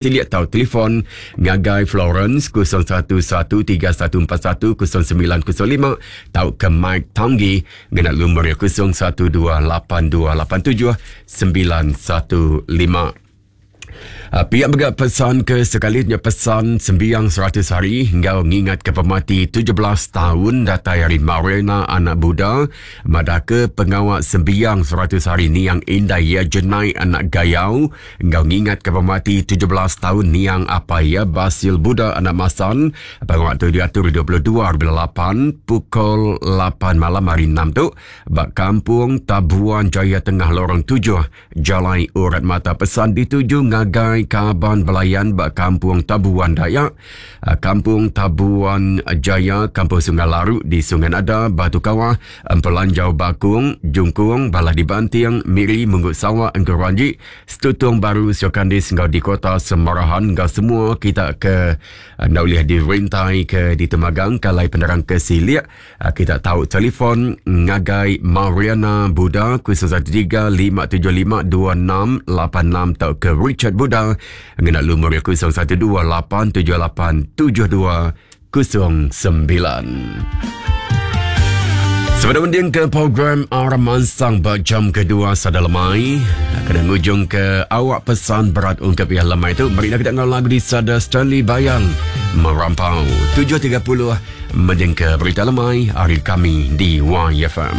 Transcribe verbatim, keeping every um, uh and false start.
Silik tau telefon ngagai Florence kosong satu satu tiga satu empat satu kosong sembilan kosong lima tau ke Mike Tanggi ngena lumur kosong satu dua lapan dua lapan tujuh sembilan satu lima. Uh, pihak juga pesan ke sekalinya pesan sembiang seratus hari hingga mengingat ke pemati tujuh belas tahun datai hari Marina anak Buddha madaka pengawal sembiang seratus hari niang indah ya jenai anak gayau hingga mengingat ke pemati tujuh belas tahun niang apa ya Basil Buddha anak Masan pengawal tu diatur dua puluh dua lapan pukul lapan malam hari enam tu bak kampung Tabuan Jaya Tengah Lorong tujuh Jalai Urat Mata. Pesan dituju ngagai Kaban Belayan bak Kampung Tabuan Dayak, Kampung Tabuan Jaya, Kampung Sungai Larut di Sungai Nada, Batu Kawah, Empelanjau Bakung, Jungkung, Balah di Banting, Miri, Munggut Sawak, Engkau Ranjik, Stutung Baru, Siokandis, Ngau di Kota Semarahan, ngau semua kita ke nak boleh dirintai ke di Temagang, kalai penerang ke Silik, kita tahu telefon ngagai Mariana Buddha kosong satu tiga lima tujuh lima dua enam lapan enam atau ke Richard Buddha ngena lumur kosong satu dua lapan tujuh lapan tujuh dua kosong sembilan. Sebelum mending ke program Aramansang jam kedua sada lemai, kena ngujung ke awak pesan berat ungkap yang lemai itu. Mari kita dengar lagu di Sada Stanley Bayang Merampau. Tujuh tiga puluh mending ke berita lemai hari kami di Y F M.